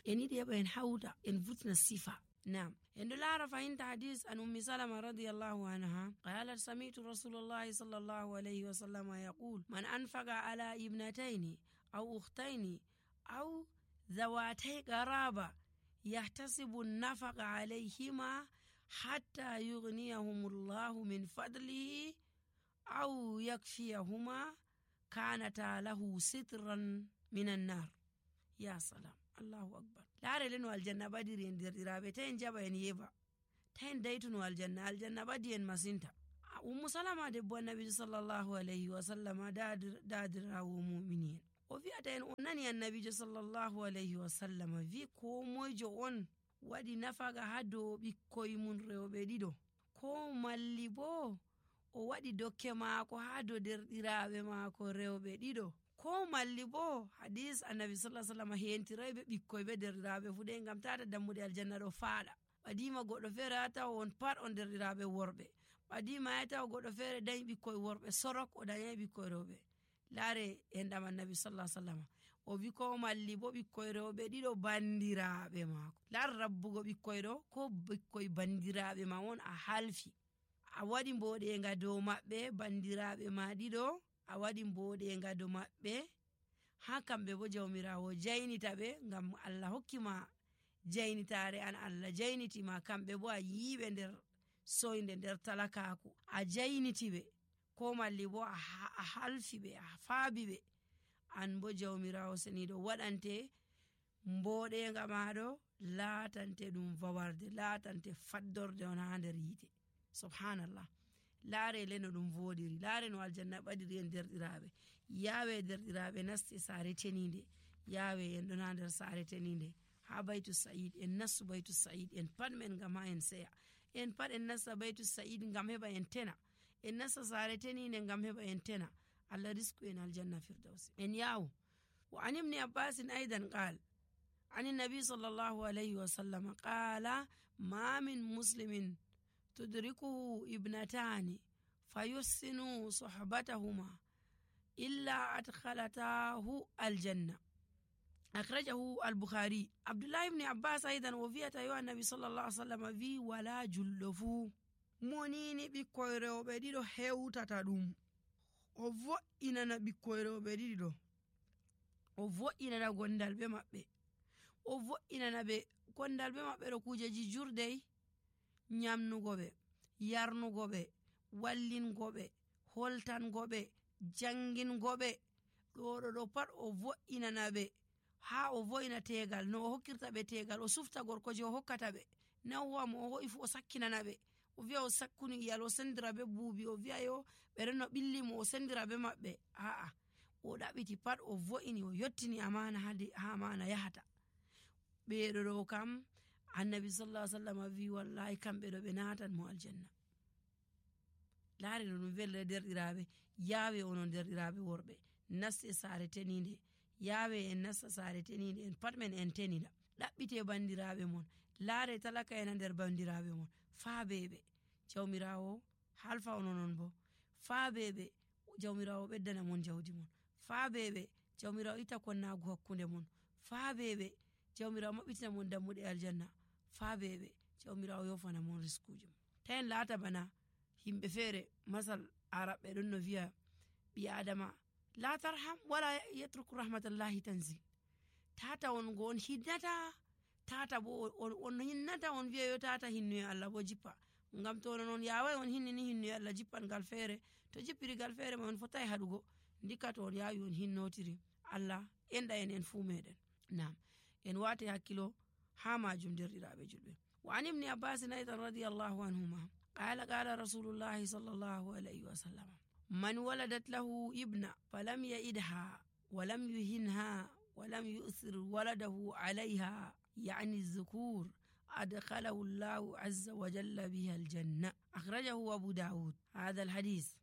en yiɗi heɓa en hawta en vurtina sifa. Naam, en ɗo laara fahinta hadis an ummi salama radiyallahu anha qalat sami'tu rasulullahi sallallahu alayhi wa sallam yaqul man anfaqa ala ibnatayni aw ukhtayni aw zawatay qaraba yahtasibu an-nafaqa alayhima hatta yughniyahumullahu min fadlihi aw yakfiyahuma kanata lahu sitran minan nar. Ya salam, Allahu akbar. Laare le no aljanna badiri en derɗiraaɓe, ta en jaɓa en yeba, ta en daytuno aljanna badi en masinta. Ummu salama debbo annabijo sallallahu alayhi wa sallam daadirawo mu'minin o wi'ata en o nani annabijo sallallahu alayhi wa sallam wi ko moyjo on waɗi nafaga ha dow ɓikkoy mun rewɓe ɗiɗo, ko malli bo o waɗi dokke maako ha dow derɗiraaɓe maako rewɓe ɗiɗo, ko malli bo hadis annabi sallallahu alaihi wasallam hentirayɓe ɓikkoy be derɗiraaɓe fuɗe ngam tata dammuɗe aljanna ɗo faaɗa. ɓadima goɗɗo feere ha taw on pat on derɗiraaɓe worɓe, ɓadima ha taw goɗɗo feere dañi ɓikkoy worɓe sorok o dañai ɓikkoy rewɓe. Laare en ɗam annabi sallallahu alaihi wasallam o wi ko malli bo ɓikkoy rewɓe ɗiɗo bandiraaɓe maako. Laare rabbugo ɓikkoy ɗo ko ɓikkoy bandiraaɓe ma won a halfi, a waɗi mboɗenga dow maɓɓe, bandiraaɓe ma ɗiɗo a waɗi mboɗenga dow maɓɓe, ha kamɓe bo jawmirawo jaynita ɓe ngam Allah hokkima jaynitare an, Allah jaynitima kamɓe bo a yiɓe nder soyde nder talakaku, a jayniti ɓe, ko malli bo a halfi ɓe, a faabi ɓe, an bo jawmirawo seniɗo waɗante mboɗenga maɗo laatante ɗum vawarde, laatante faddorde on ha nder yite. Subhanallah. Laare le no ɗum voɗiri, laare no aljanna ɓadiri en derɗiraaɓe. Yawe derɗiraaɓe nasti saare teninde, yawe en ɗon ha nder saare teninde ha baytu sa'id, en nastu baytu sa'id en pat men ngam ha en seya, en pat en nasta baytu sa'id ngam heɓa en tena, en nasta saare teninde ngam heɓa en tena. Allah risku en aljanna firdausi. En yawo wa an ibn Abbas aidan qal an nabi sallallahu alayhi wa sallam qala ma min muslimin tudrikuhu ibnatani fayussinu suhbatahuma illa adkhalatahu aljanna. Akhrajahu al-Bukhari. Abdullah ibn Abbas aidan o wi'ata yo annabi sallallahu alaihi wasallam wi wala jullo fu monini ɓikkoy rewɓe ɗiɗo hewtata ɗum, o vo'inana ɓikkoy rewɓe ɗiɗo, o vo'inana gondal ɓe maɓɓe, o vo'inana ɓe gondal ɓe maɓɓe ɗo kujeji jurdey, nyamnugo ɓe, yarnugo ɓe, wallingo ɓe, holtango ɓe, jangingo ɓe, ɗo pat o vo'inana ɓe. Ha o vo'ina tegal no o hokkirta ɓe tegal, o sufta gorko je o hokkata ɓe, nawwa mo o ho'i fu o sakkinana ɓe, o wi'a o sakkuni iyal, o sendira be buubi, o wi'a yo ɓe renno ɓilli mo, o sendira be maɓɓe. A'a, o ɗaɓiti pat, o vo'ini, o yottini amana ha amana yahata. Ɓeɗo ɗo kam annabi sallallahu alaihi wasallam wi wallahi kamɓe ɗo ɓe natan mo aljanna. Laare no ɗum velle derɗiraaɓe, yawe onon derɗiraaɓe worɓe nasti saare teninde, yawe en nasta saare teninde, en pat men en tenida, ɗaɓɓite bandiraaɓe mon, laare talaka en nder bandiraaɓe mon, faabeɓe jawmirawo halfa ononon bo, faabeɓe jawmirawo ɓeddana mon jawdi mon, faabeɓe jawmirawo itta konnagu hakkunde mon, faabeɓe jawmirawo maɓɓitina mon dammuɗe aljanna, faabeɓe jawmirawo yofana mon riskuji mon. Ta en laata bana himɓe feere masal araɓɓe ɗon no wiya ɓi adama la tarham wala yatruku rahmatallahi tanzil. Tata on go on hinnata, tata bo on hinnata, on wiya yo tata hinnuye Allah bo jippa, ngam to non yawai on hinnini hinnuye Allah jippan gal feere, to jippiri gal feere ma on fotai haɗugo, ndikka to on yawi on hinnotiri. Allah enɗa en fuu meɗen. Naam, en wate hakkilo ha majum derɗiraaɓe julɓe. Wa an ibn Abbas aidan radiyallahu anhuma qala qala rasulullahi sallallahu alayhi wa sallam man waladat lahu ibna falam ya'idha walam yuhinha walam yu'thir waladahu alayha yani الذكور أدخله الله عز وجل بها الجنة. أخرجه أبو داود. هذا الحديث